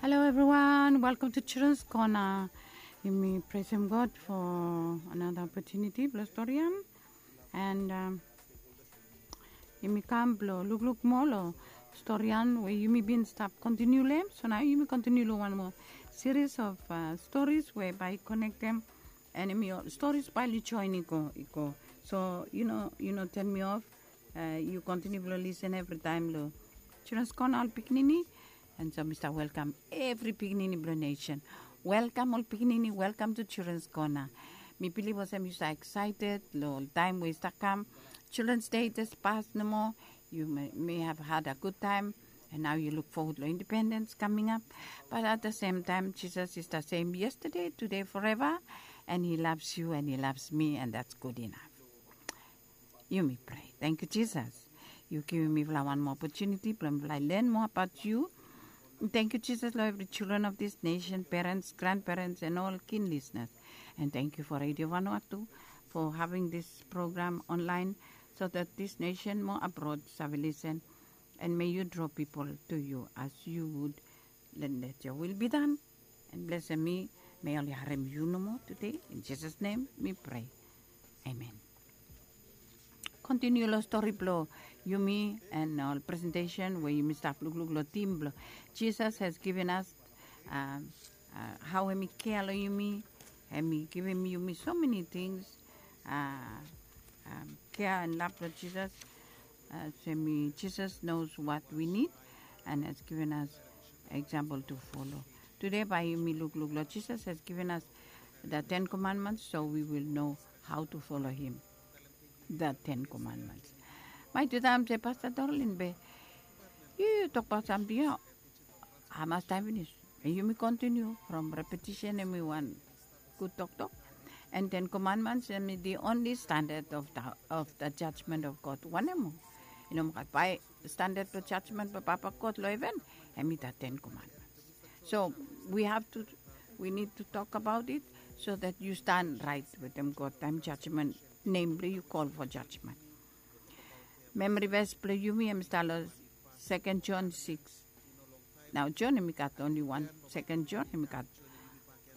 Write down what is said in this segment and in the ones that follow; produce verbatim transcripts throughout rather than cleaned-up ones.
Hello everyone, welcome to Children's Corner. Yumi praisem God for another opportunity blong storian. And um, yumi kam blong lukluk moa long storian we yumi bin stap kontiniu long hem. So nao yumi kontiniu long wan moa series of uh, stories we bae i konektem and yumi ol stories bae oli join i go, i go. So yu no, yu no turn mi off. Uh, yu kontiniu blong lisen evritaem long Children's Corner ol pikinini. And so mi stap welkam evri pikinini blong nesen. Welkam ol pikinini, welkam to Children's Corner. Mi bilif olsem yu stap excited long ol taem we i stap kam. Children's Day i jes pas nomo. You may, may have had a good time, and now you look forward long independence coming up. But at the same time, Jesus is the same yesterday, today, forever, and he loves you and he loves me, and that's good enough. Yumi prea. Tangkiu Jisas, yu givim mifala wan moa opotuniti blong mifala i len moa abaot yu. Tangkiu Jisas long evri children of this nation, parents, grandparents, and all keen listeners. And thank you for Radio Vanuatu for having this program online, so that this nation mo abroad save lisen. And may you draw people to you as you would. Let your will be done. And blesem mi, may oli harem yu nomo tede. In Jesus' name mi prea. Amen. Kontiniu long stori blong yumi and ol presentesen we yumi stap lukluk long tim blong Jesus has given us, um, uh, hao hem i kea long yumi. Hem i givim yumi so many things. Uh, um, kea and love blong Jesus. Uh, so mi, Jesus knows what we need and has given us example to follow. Today bae yumi lukluk long Jesus has given us the Ten Commandments, so we will know how to follow him. The Ten Commandments. Mai tude mi se Pasta Dorlin be yu tokbaot samting ya. Hamas taem finis? Yumi kontiniu from repetition, hem i wan gud toktok. And Ten Commandments hem i the only standard of the, of the judgment of God. Wanem moa? I no moa gat bae standard blong judgment blong Papa God long heven, hem i the Ten Commandments. So we have to, we need to talk about it so that you stand right wetem God taem judgment, nem blong yu call for judgment. Memory verse blong yumi hem i stap long Second John six. Nao John hem i gat only wan, Second John hem i gat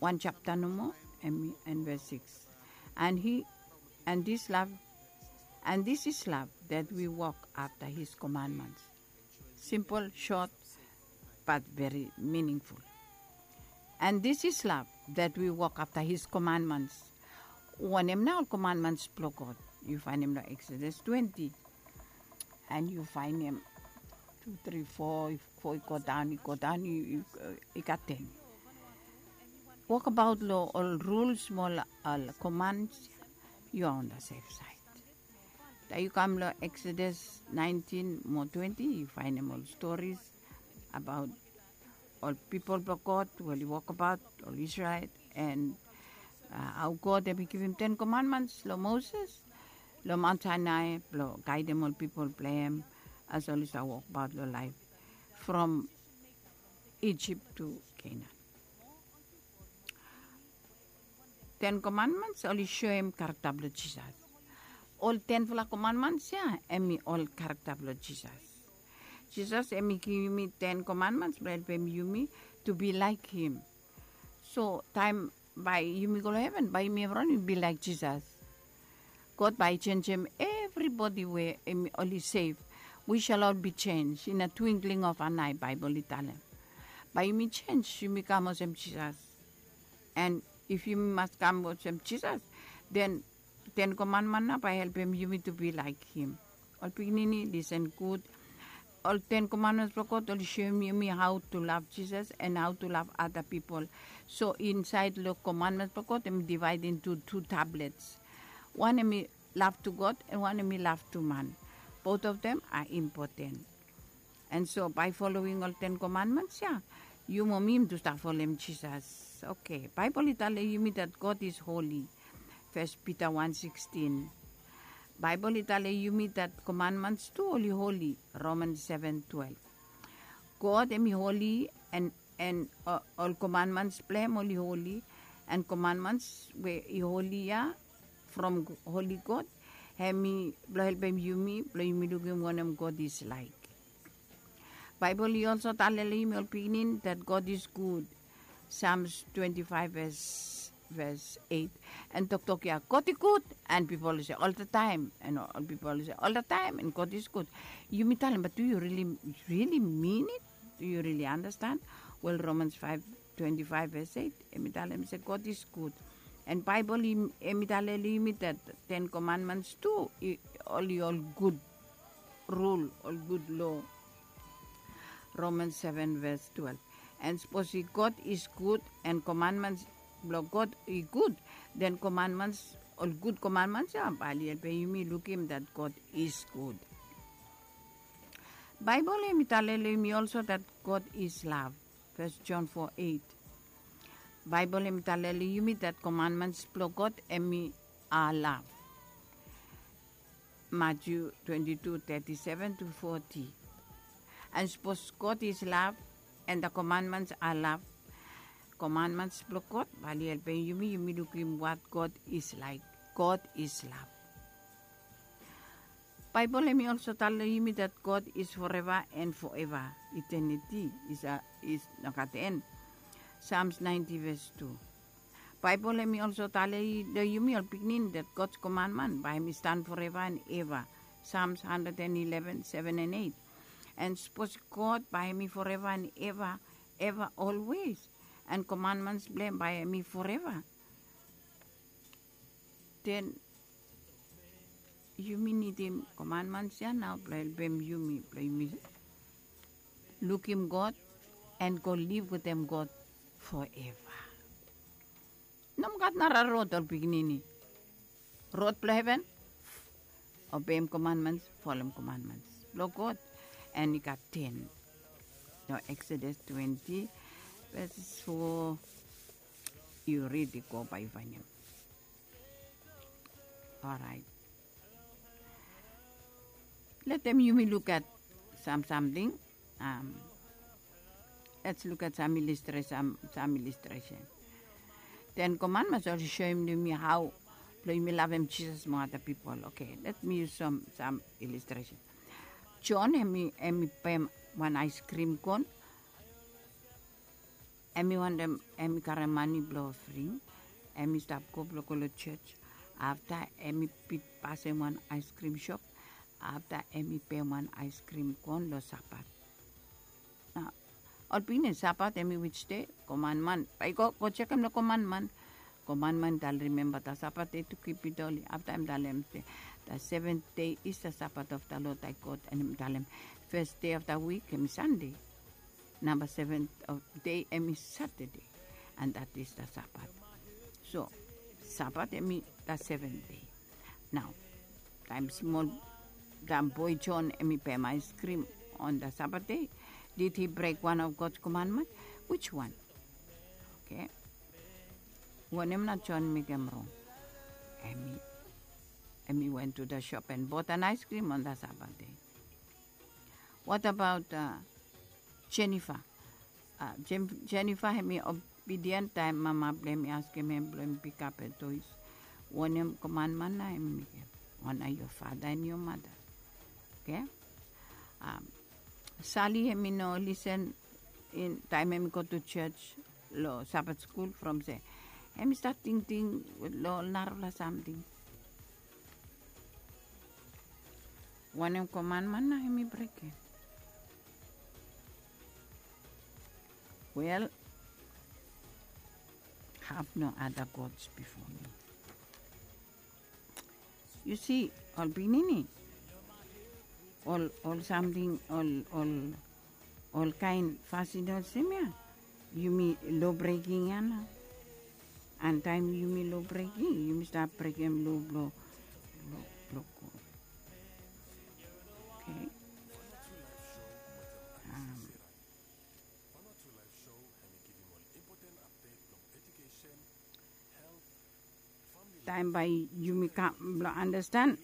wan japta nomo, hem i, and verse six. And he, and this love, and this is love, that we walk after his commandments. Simple, short, but very meaningful. And this is love, that we walk after his commandments. Wanem nao ol commandments blong God? Yu faenem long Exodus twenty. And yu faenem tu, tri, fo, fo i go daon, i go daon, i, i, i gat ten. Wokbaot long ol rules mo ol, ol commands, yu are on the safe side. Taem yu kam long Exodus nineteen mo twenty, yu faenem ol stories abaot ol pipol blong God we oli wokbaot, ol Israel, and uh, hao God hem i givim Ten Commandments long Moses long Mount Sinai blong gaedem ol pipol blong hem as oli stap wokbaot long laef from Egypt to Canaan. Ten Commandments oli soem karakta blong Jisas. Ol tenfala commandments ya hem i ol karakta blong Jisas. Jisas hem i givim yumi Ten Commandments blong helpem yumi to be like him. So taem bae yumi go long heven, bae yumi evriwan yumi be like Jisas. God bae i jenjem evribodi we hem oli sev. We shall all be changed in a twinkling of an eye, Baebol i talem. Bae yumi jenj, yumi kam olsem Jisas. And if yumi mas kam olsem Jisas, then Ten Commandment nao bae helpem yumi to be like him. Ol pikinini, lisen gud. Ol Ten Commandments blong God oli soem yumi hao to lav Jisas and hao to lav ada pipol. So insaed long Commandments blong God hem i divaed into tu tablets. Wan hem i lav to God and wan hem i lav to man. Both of them are important. And so bae foloing ol Ten Commandments ya, yu mo mi yumi tu stap folem Jisas. Oke, Baebol i talem yumi that God is holy. First Peter one sixteen. Baebol i talem yumi that commandments tu oli holi. Romans seven twelve. God hem i holi and, and uh, ol commandments blong hem oli holi. And commandments we i holi ya from holi God, hem i blong helpem yumi blong yumi lukim wanem God is like. Baebol i olsem talem long yumi ol pikinini that God is good. Psalms twenty-five verse, verse eight. And toktok ya, God is good, and pipol i se all the time, and ol pipol i se all the time, and God is good. Yumi talem, but do you really, really mean it? Do you really understand? Well, Romans five twenty-five verse eight, hemi talem se God is good. And Baebol hemi talem long yumi that Ten Commandments tu, oli ol gud rul, ol gud lo. Romans seven verse twelve. And sapos God is good, and commandments blong God i gud, then commandments, ol gud commandments ya, bae oli helpem yumi lukim that God is good. Baebol hemi talem long yumi also that God is love. First John four eight. Baebol hemi talem long yumi that commandments blong God hemi are love. Matthew twenty-two thirty-seven to forty. And sapos God is love, and the commandments are love, commandments blong God bae oli helpem yumi, yumi lukim what God is like. God is love. Baebol hemi also talem long yumi that God is forever and forever. Eternity is a, is no gat end. Psalms ninety verse two. Baebol hemi also talem long yumi ol pikinini that God's commandment bae hemi stand forever and ever. Psalms hundred and eleven, seven and eight. And sapos God bae hemi forever and ever, ever always, and commandments blong hem bae hemi forever, then yumi nidim commandments ya nao blong helpem yumi, blong yumi lukim God and go live wetem God forever. No gat nara rod, ol pikinini. Rod blong heven, obeim commandments, folem commandments blong God. And i gat ten. Nao Exodus twenty verses four, yu rid i go bae yu faenem. Orait. Letem yumi luk at sam samting. Let's look at some illustration, some, some illustration. Ten Commandments oli soem long yumi hao blong yumi lavem Jisas mo ada pipol. Okay, let me use some, some illustration. John hemi, hemi pem wan ice cream cone. Hemi wantem, hemi karem mane blong ofring. Hemi stap go blong go long jos. Afta hemi bit pasem wan ice cream shop. Afta hemi pem wan ice cream cone long Sabat. Nao ol pikinini, Sabat hemi which day? Commandment. Bae yu go, go jekem long commandment. Commandment talem, remember the Sabbath day to keep it holy. Afta hem talem se, the seventh day is the Sabbath of the Lord thy God. And hem talem first day of the week hemi Sunday. Namba seven of day hemi Saturday. And that is the Sabbath. So Sabbath hemi the seventh day. Nao taem smol, taem boe John hemi pem ice cream on the Sabbath day, did he break one of God's commandment? Which one? Okay. Wanem nao John mekem rong? Hemi, hemi went to the shop and bought an ice cream on the Sabbath day. What about Jennifer? Jennifer hemi obedient taem mama blong hem i askem hem blong hem pikap toes. Wanem commandment nao hem i mekem? Honor your father and your mother. Okay. Sali hemi no listen taem hemi go to jos long Sabbath skul from se hemi stat tingting long ol narafala samting. Wanem commandment nao hemi brekem? Well, have no other gods before me. Yu si, ol pikinini, ol, ol samting, ol, ol, ol kaen fasin olsem ya, yumi lo breking ya nao. And taem yumi lo breking, yumi stap brekem lo blong, lo, lo God. Okay. Taem bae yumi kam blong anastan,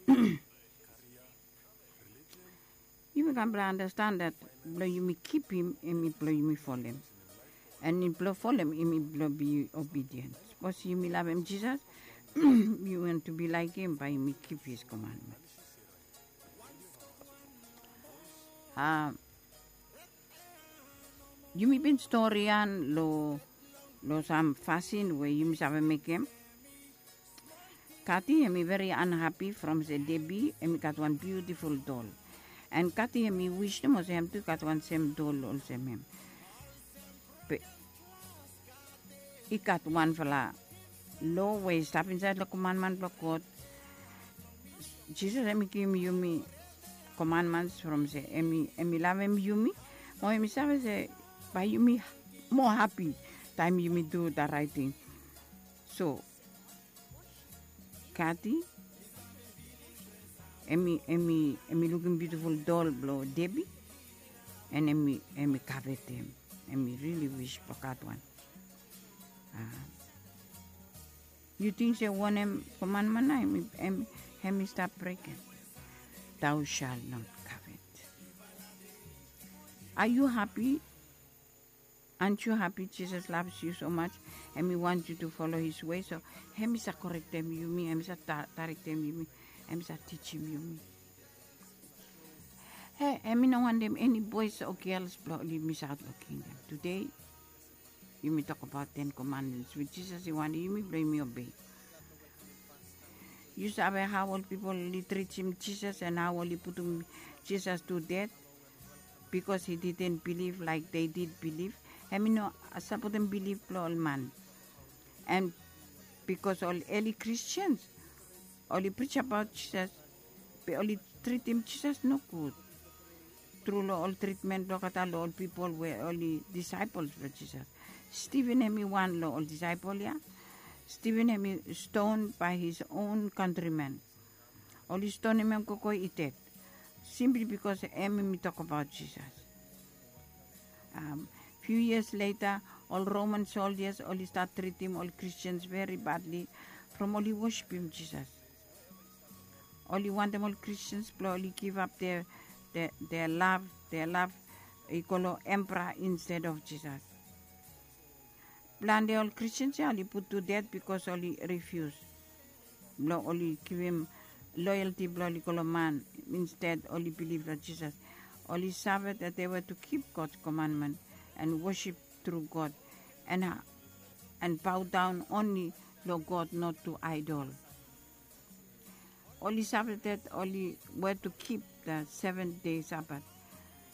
yumi kam blong anastan that blong yumi kipim hemi blong yumi folem. And blong folem hemi blong be obedient. Sapos yumi lavem Jisas, yumi want to be like hem, bae yumi kip his commandment. Yumi bin stori ya long long sam fasin we yumi save mekem. Kati hem i veri anhapi from se Debi hem i gat wan biutiful dol. En Kati hem i wis nomo se hem tu i gat wan sem dol olsem hem. Be i gat wanfala lo we i stap insait long komanman blong God. Jisas hem i givim yumi komanmans from se hem i lavem yumi. Mo hem i save se bae yumi moa hapi taem yumi du da raeting. So Kati hem i lukim biutiful dol blong Debi. En hem i kavetem. Hem i rili wis blong gat wan. Yu ting se wanem komanman na hem i stap brekem? Thou shall not covet. Are you happy? Aren't you happy Jesus loves you so much? Hem i want you to follow his way. So hem i sa korektem yumi, hem i sa tarektem yumi, hem i sa tijim yumi. He hem i no wantem eni boes o gels blong oli misaot long kingdom. Tude yumi tokbaot ten komandments we Jisas i wantem yumi blong yumi obei. Yu save hao ol pipol oli tritim Jisas en hao oli putum Jisas tu det? Bikos he diden bilif laek dei did bilif, hem i no sapotem bilif blong ol man. En bikos ol eli Kristians oli prijabaot Jisas, be oli tritim Jisas nogud tru long ol tritmen blong olgeta long ol pipol we oli disaepol blong Jisas. Stiven hem i wan long ol disaepol ya. Stiven hem i ston bae his on kantrimen. Oli stonem hem gogo i ded simpli bikos hem hem i tokbaot Jisas. Fiu yias leta ol Roman soldias oli stat tritim ol Kristians veri badli from oli wosipim Jisas. Oli wantem ol Kristians blong oli givap dea lav, dea lav i go long empera insted of Jisas. Plante ol Kristians ya oli put tu ded bikos oli rifius blong oli givim loyalti blong oli go long man. Insted oli bilif long Jisas. Oli save that they were to keep God's commandment and worship through God and, and bow down only long God, not to idol. Oli save that oli were to keep the seventh day Sabbath.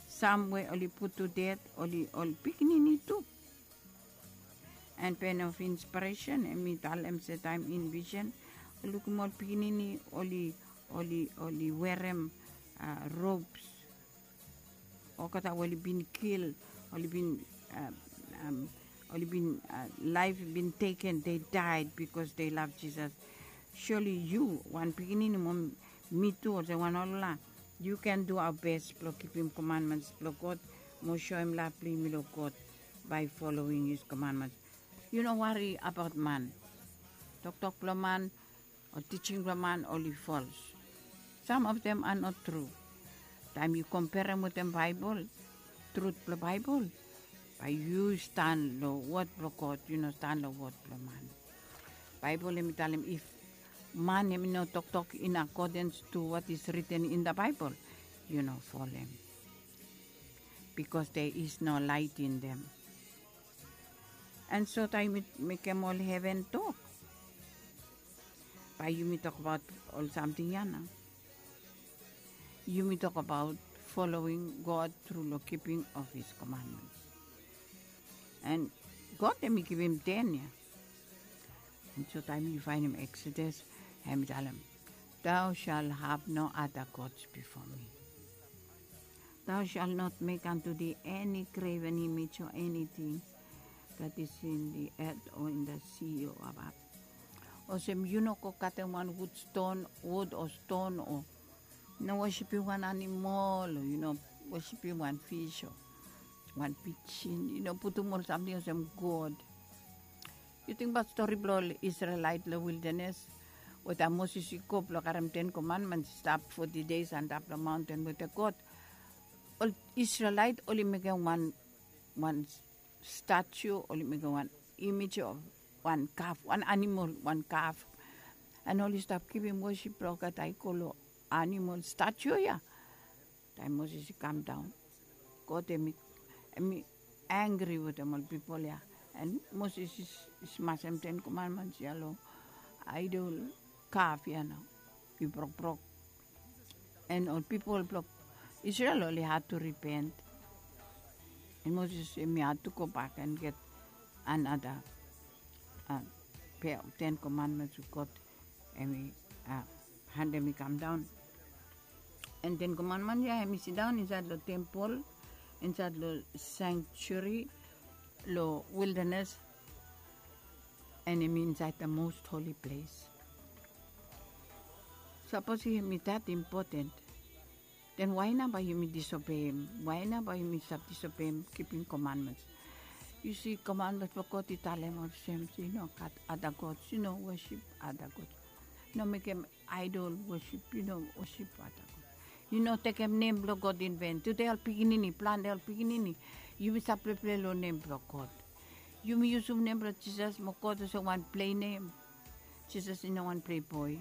Sam we oli put to death oli ol pikinini tu. And pen of inspiration hem i talem se taem in vision ol lukim ol pikinini oli oli oli werem uh, robes. Olgeta we oli bin kil, oli bin um, um, oli bin uh, laef bin teken, they died because they love Jesus. Surely yu wan pikinini mo mi tu olsem wan olgeta, yu ken du our best blong kipim commandments blong God mo soem lav blong yumi long God by following his commandments. Yu no wari abaot man. Toktok blong man o tijing blong man oli fals. Sam of them are not tru. Taem yu komperem wetem Baebol, trut blong Baebol, bae yu stan long wod blong God, yu no stan long wod blong man. Baebol hem i talem if man hem i no toktok in accordance to what is written in the Bible, yu no folem. Bikos there is no light in them. And so taem yumi mekem ol heven tok, bae yumi tokbaot ol samting ya nao. Yumi tokbaot following God tru long kiping of his commandments. And God hem i givim ten ya. And so taem yu faenem Exodus, hem i talem, thou shall have no other gods before me. Thou shalt not make unto thee any graven image or anything that is in the earth or in the sea or above. Olsem yu no go katem wan wud ston, wud o ston o no wosipim wan animol o yu no wosipim wan fis o wan pijin, yu no putum ol samting olsem god. Yu tingbaot stori blong ol Isrelaet long wildanes we taem Moses i go blong karem ten komandments i stap foti deis antap long maonten wetem God. Ol Isrelaet oli mekem wan wan statu, oli mekem wan imej of wan kaf, wan animol, wan kaf. And oli stap givim wosip blong olgeta i go long animol statu ya. Taem Moses i kam daon, God hem i hem i angri wetem ol pipol ya. And Moses i smasem ten commandments ya long idol kaf ya nao. I brokbrok. And ol pipol blong Israel oli had to repent. And Moses em i had to go back and get another uh, pair of ten commandments we God em i uh, hand em i come down. And ten commandment ya em i sit down inside lo temple, inside lo sanctuary, lo wilderness, and em i inside the most holy place. Sapos em i that important, then why nao bae yumi disobeim? Why nao bae yumi stap disobeim kipim commandments? Yu si, commandments blong God i talem olsem se i no gat other gods, i no worship other gods. No mekem idol worship, i no worship other gods. I no tekem nem blong God in vain. Tude ol pikinini, plante ol pikinini, yumi stap plepleplei long nem blong God. Yumi yusum nem blong Jisas mo God olsem wan plei nem. Jisas i no wan plei boe.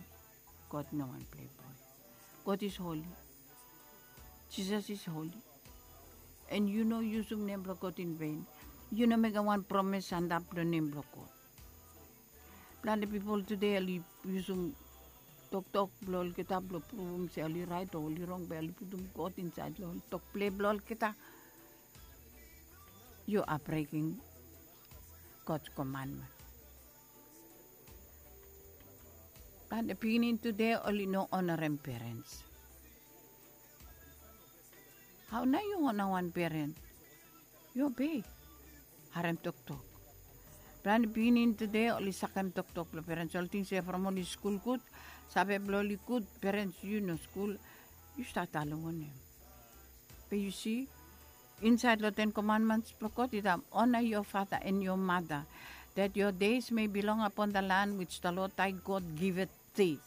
God i no wan plei boe. God is holy. Jisas is holy. And yu no yusum nem blong God in vain. Yu no mekem wan promis antap long nem blong God. Plante pipol tude oli yusum toktok blong olgeta blong pruvum se oli rait o oli rong, be oli putum God insaed long tok plei blong olgeta. Yu a breking God's commandment. Plante pikinini tude oli no onarem perens. Hao nao yu ona wan peren? Yu obei. Harem toktok. Plante pikinini tude oli sakem toktok blong perens. Oli ting se from oli skul gud, save blong oli gud, perens yu no skul, yu stat talem wanem? Be yu si, insaed long ten commandments blong God i talem, honor your father and your mother, that your days may be long upon the land which the Lord thy God giveth thee.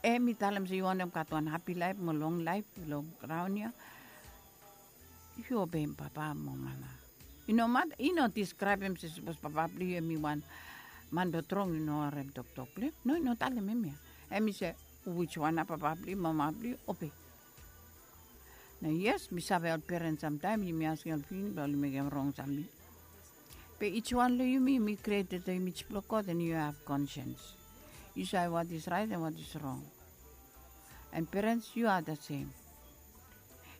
Em i talem se yu wantem gat wan hapi laef mo long laef long graon ya, yu obeim papa mo mama. I no mat, i no diskraebem se sapos papa blong yu em i wan man blong trong, yu no harem toktok blong hem. No, i no talem hemia. Em i se, wiswan nao papa blong yu, mama blong yu, obei. Nao yes, mi save ol perens samtaem yumi askem ol pikinini blong oli mekem rong samting. Be each wan long yumi, yumi created long image blong God and yu have conscience. Yu save what is right and what is wrong. And perens, yu are the same.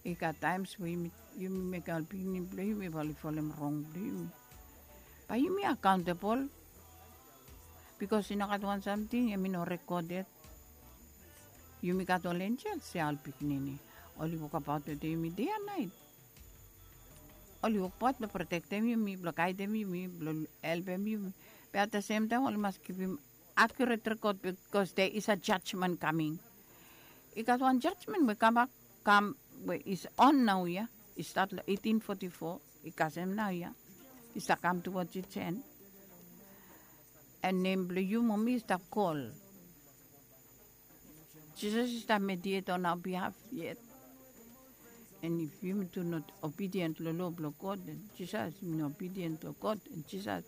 I gat taems we yumi, yumi mekem ol pikinini blong yumi bae oli folem rong blong yumi. Bae yumi accountable. Bikos i no gat wan samting em i no recorded. Yumi gat ol enjels ya, ol pikinini. Oli wokabaot wetem yumi dei and naet. Oli wokabaot blong protektem yumi, blong gaedem yumi, blong helpem yumi. Be at the same time oli mas givim accurate record, because there is a judgment coming. I gat wan judgment we kambak, kam, we is on naoia. I stat long eighteen forty-four, i kasem naoia. I stap kam towards its end. And nem blong yu mo mi i stap kol. Jisas i stap mediate on our behalf yet. And if yumi tu not obedient long loa blong God, and Jisas i no obedient long God and Jisas,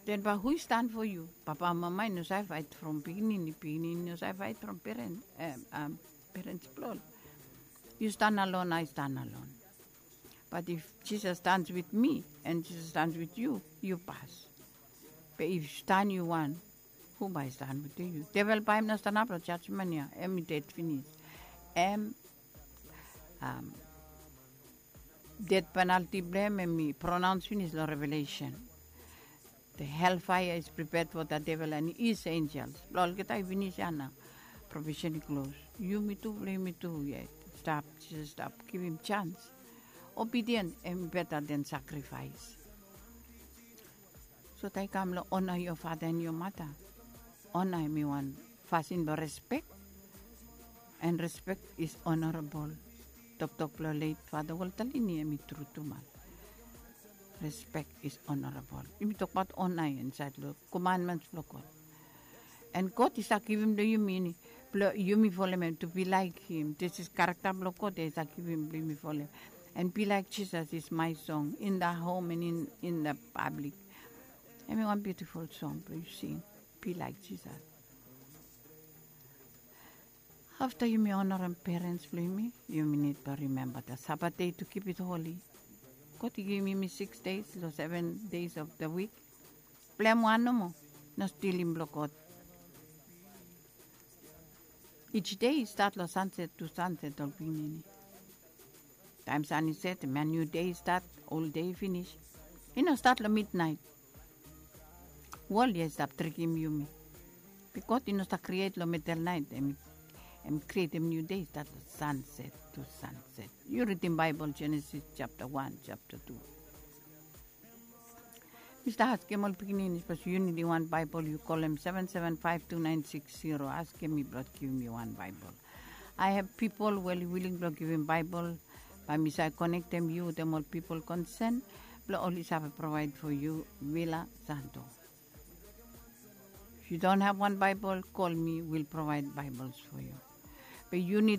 then bae hu i stan for yu? Papa, mama i no save faet from pikinini, pikinini i no save faet from peren, em, em, perens blong ol. Yu stan alone, I stand alone. But if Jesus stands with me and Jesus stands with you, yu pas. Be if stan yu wan, hu bae i stan wetem yu? Devel bae hem no stanap long jajmen ya, hem i ded finis. Hem, um, ded penalti blong hem, hem i pronaons finis long Revelation. The hellfire is prepared for the devil and his angels. Blong olgeta i finis ya nao. Profession i klos. Yumi tu, blong yumi tu yet. Stap, Jisas stap givim jans. Obedient hem i beta than sacrifice. So taem i kam long honor your father and your mother. Honor hem i wan fasin blong respect. And respect is honorable. Toktok blong late Father Walter Lini hem i tru tumas. Respect is honorable. Yumi tokbaot honor ya insaed long commandments blong God. And God i stap givim long yumi, blong yumi folem hem, to be like him. This is character blong God ya i stap givim blong yumi folem. And be like Jesus is my song in the home and in, in the public. Hem i wan beautiful song blong yu sing, be like Jesus. Afta yumi onarem perens blong yumi, yumi nid blong rimemba the Sabbath day to keep it holy. God i givim yumi six days long seven days of the week. Blong em wan nomo, no stilim blong God. Each day i stat long sunset to sunset, ol pikinini. Taem san i set, em ya new day i stat, ol day i finis. I no stat long midnait. Wol ya i stap trikim yumi. Bikos i no stap kriet long midnait, em, em krietem new day i stat long sunset to sunset. Yu ridim Baibel, Genesis chapter one, chapter two. Mi stap askem ol pikinini, sapos yu nidim wan Baibel, yu kolem seven seven five two nine six zero, askem mi blong givim yu wan Baibel. I have people we oli willing blong givim Baibel, bae mi save konektem yu wetem ol pipol konsen blong oli save provaed fo yu. Vila Santo. If you don't have one Bible, call me, we'll provide Bibles for you. Be yu nid